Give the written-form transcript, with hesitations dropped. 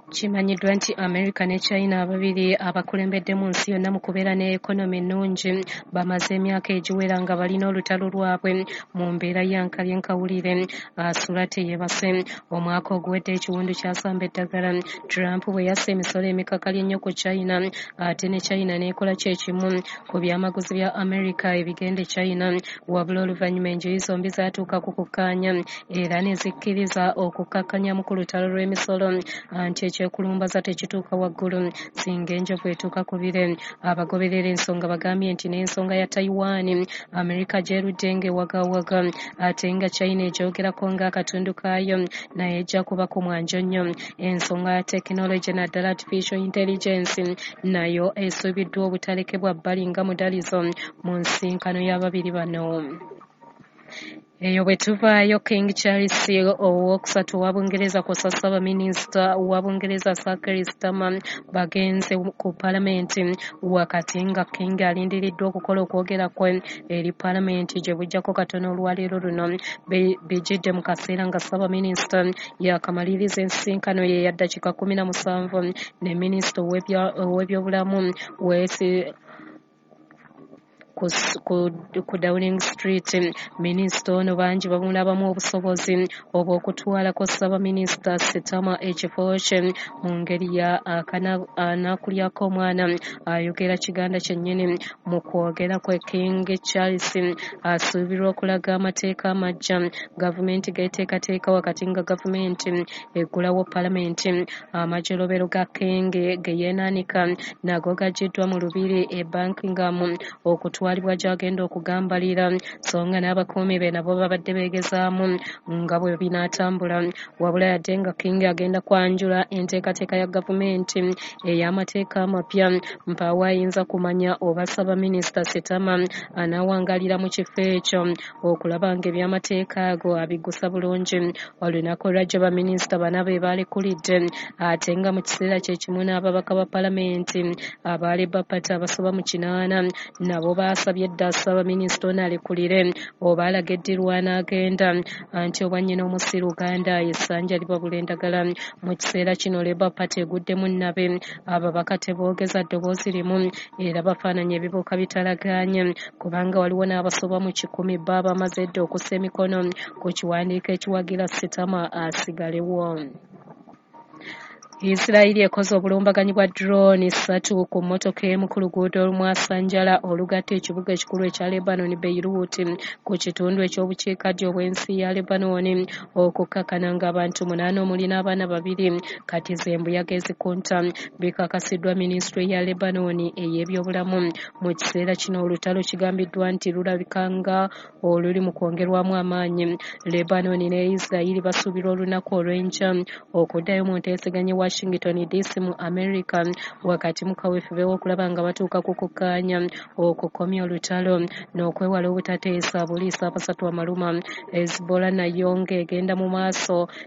Kimanyiddwa nti America ne China, ababiri abakulembedde mu nsi yonna mu kubeera ne economy ennungi, bamaze emyaka egiwera nga balina olutalo lwabwe mu mbeera ya nkalye nkawulire asula teyebase. Omwaka oguwedde ekiwundu kyasamba eddagala Trump bwe yassa emisolo emikakali ennyo ku China, ate ne China n'ekola kyekimu ku byamaguzi bya America ebigenda e China. Wabula oluvannyuma enjuyi zombi zaatuuka ku kukkaanya era ne zikkiriza okukakkanyamu ku lutalo lw'emisolo, anti ekyekulumbaza tekituuka waggulu singa enjovu etuuka ku bire. Abagoberera ensonga bagambye nti n'ensonga ya Taiwan America gy'erudde ng'ewagawaga, ate nga China egyogerako ng'akatundu kaayo, naye ejja kuba ku mwanjo nnyo. Ensonga ya tekinologi naddala artificial intelligence nayo esuubiddwa obutalekebwa bbali nga mudalizo mu nsinkano y'ababiri bano. Eyo bwe tuvaayo, King Charles owokusatu owa Bungereza kw'ossa Ssaabaminisita wa Bungereza Sir Keir Starmer bagenze ku Paalamenti, wakati nga King alindiriddwa okukola okwogera kwe eri Paalamenti gye bujjako katono olwaleero luno. Bijjidde mu kaseera nga Ssaabaminisita yakamaliriza ensisinkano ye ya ddakiika 17 ne minisita ow'ebyobulamu Wes ku Downing Street. Minisita ono bangi bamulabamu obusobozi obw'okutwalako Ssaabaminisita Starmer ekifo kye mu ngeri ya anaakulyako omwana ayogera Kiganda kyennyini. Mu kwogera kwe, King Charles asuubirwa okulaga amateeka amaggya gavumenti geeteekateeka, wakati nga gavumenti eggulawo Paalamenti. Amajolobero ga King ge yeenaanika nago gaggiddwa mu lubiri e Buckingham okutwalibwa gy'agenda okugambalira, so nga n'abakuumi be nabo babadde beegezaamu nga bwe binaatambula. Wabula yadde nga King agenda kwanjula enteekateeka ya gavumenti ey'amateeka amapya, mpaawo ayinza kumanya oba Ssaabaminisita Starmer anaawangalira mu kifo ekyo okulaba ng'ebyamateeka ago abiggusa bulungi. Olunaku olwajjo baminisita bana be baalekulidde, ate nga mu kiseera kye kimu n'ababaka ba Paalamenti aba Labour Party abasoba mu 80 nabo baasabye dda Ssaabaminisita ono alekulire oba alaga eddirwa n'agenda, anti obwannyina omusiru Uganda essanja libabula endagala. Mu kiseera kino Labour Party eguddemu nnabe, ababaka teboogeza ddoboozi limu era bafaananya ebibuuka bitalagaanye, kubanga waliwo n'abasoba mu 100 bo abamaze edda okussa emikono ku kiwandiiko ekiwagira Starmer asigalewo. Isirayiri ekoze obulumbaganyi bwa drone 3 ku mmotoka emu ku luguudo olumwasanjala olugatta ekibuga ekikulu ekya Lebanon, Beirut, ku kitundu eky'obukiikaddyo obw'ensi ya Lebanon, okukkakkana ng'abantu 8 omuli n'abaana 2 kati ze mbuyaga ezikunta. Bikakasiddwa minisitule ya Lebanon ey'ebyobulamu. Mu kiseera kino olutalo kigambiddwa nti lulabika nga oluli mu kwongerwamu amaanyi. Lebanon ne Isirayiri basuubirwa olunaku olw'enkya okuddayo mu nteeseganya Washington DC mu America, wakati mu kaweefube w'okulaba nga batuuka ku kukkaanya okukomya olutalo n'okwewala obutateesa buliisa abasatu amaluma. Hezbollah nayo ng'egenda mu maaso